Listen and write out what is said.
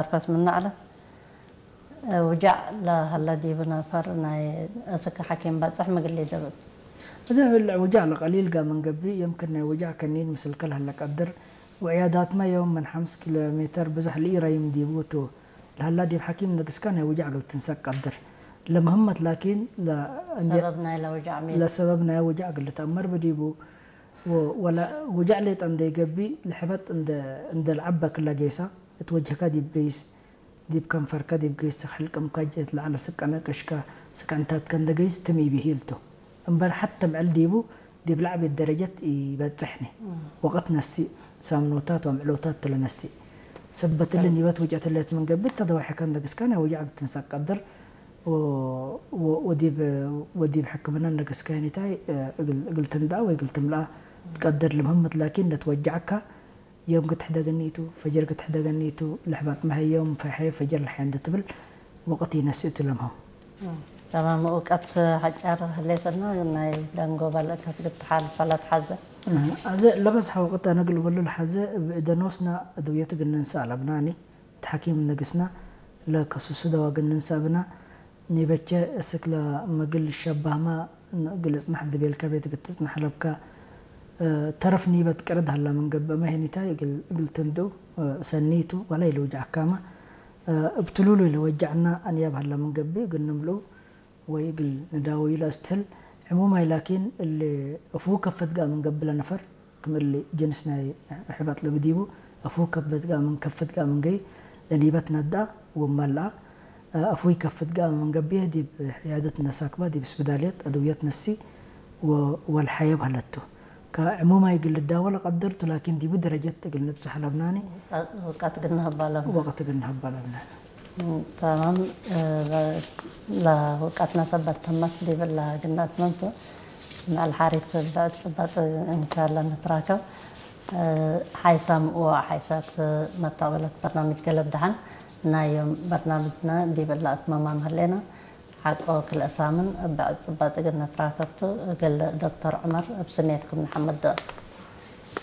ርፈት ምናዕለት ውጃዕ ለሀለ ዲብ ነፈር ናይ እስክ ሐኪም በጽሕ ምግል ይደብብ። እዚ ብልዕ ውጃዕ ለቀሊል ጋር መንገቢ የምክን ናይ ውጃዕ ከኒን ምስል ከልሀለ ቀድር ወዕያዳትመ የውም ምን ሐምስ ኪሎ ሜተር ብዘሕ ልኢረይም ዲቡ ቱ ለሀላ ዲብ ሐኪም ነግስካ ናይ ውጃዕ እግል ትንሰቅ ቀድር። ለምህመት ላኪን ለ- ሰበብ ናይ ለውጃዕ ሜት ለሰበብ ናይ ውጃዕ እግል ልትአመር ብዲቡ ወ- ወለ ውጃዕ ሌጠ እንደ ይገቢ ለሕበጥ እንደ እንደ ለዐበ ክለ ጌሳ እት ወጅህካ ዲብ ገይስ ዲብ ከንፈርከ ዲብ ገይስ ስክ ሕልቅምካ ጀት ለዐለ ስቀነ ቅሽከ ስቀንታትከ እንደ ገይስ ትም ኢቢሂል ቱ። እምበር ሐተ ምዕል ዲቡ ዲብ ለዐቤት ደረጀት ኢበጽሕኒ። ወቅት ነሲእ ሳምኖታት ወምዕሎታት ትለነሲእ። ሰበትሊ ኒበት ውጨት ሌት ምን ገብእ ተደዋሕከ እንደ ግስካ ናይ ውጃዕ ብትንሰቅ ቀድር ወ- ወ- ወዲብ ወዲብ ሕክምና እንደ ግስካ ኒታይ እግል እግል ትንድኣ ወይ እግል ትምልኣ ትቀድር ልምህምት ላኪን ለትወጃዕካ ዮም ክትሕደገኒ ቱ፣ ፈጀር ክትሕደገኒ ቱ፣ ለሕባጥ መሀ ዮም ፈሐ ፈጀር ለሐ እንደ ትብል ወቅት ይነስእ ቱ ለምሀው። ተማም እውቀት ሐጫር ህሌትና ናይ ደንጎባ ልእከት ግትሓል ፈለት ሐዘ ኣዘ ለበዝሐ ወቅት ኣነ ግልበሉ ለሐዘ ብእደኖስና እድውየት ግንንሳ ኣለብናኒ። ተሐኪም ንግስና ለከሱሱ ደዋ ግንንሳ ብና ኒበቸ እስክ ለመግል ሸባህማ ግልጽናሕ ድቤልካ ቤት ግትጽናሕ ለብካ ተረፍ ኒበት ቅርድ ሀላ ምን ገብእ መሄኒታይ እግል ትንድኡ ሰኒቱ ወላ ኢልውጃዕካማ እብ ትሉሉ ኢልወጃዕና ኣንያብ ሀላ ምን ገብእ እግል ንምልኡ ወይ እግል ንዳወዩ ለእስትህል ዕሙማይ ላኪን እሊ እፍሁ ከፈት ጋእ ምን ገብእ ለነፈር ክም እሊ ጅንስ ናይ ሕበጥ ለብዲቡ እፍሁ ከፈት ጋእ ምን ከፈት ጋእ ምን ገይ ለኒበት ነዳ ወመልኣ እፍሁ ይከፍት ጋእ ምን ገብእ ዲብ ዕያደት ነሳክባ ዲብ ስብዳልየት አድውየት ነሲ ወልሐየብ ሀለቱ። ከዕሙማይ እግል ልዳወል ቀድር ቱ ላኪን ዲቡ ደረጀት እግል ንብጽሕ ለብናኒ ወቀት ግን ንህባ ለብና። ወቅት እግል ንህባ ለብናኒ። ተማም ለውቀትና ሰበት ተመት ዲብላ ግናት መምቱ ምዕል ሓሪት ብዕድ ጽባጽ እንካለ ንትራከብ ሓይሳም ወሓይሳት መታወለት በርናምጅ ገለብ ደሓን ናዮም በርናምጅና ዲብላ እትመማም ህሌና ሓቆ ክልእ ሳምን ብዕድ ጽባጽ እግል ንትራከብቱ እግል ዶክተር ዑመር እብ ስሜትኩም ንሓመድ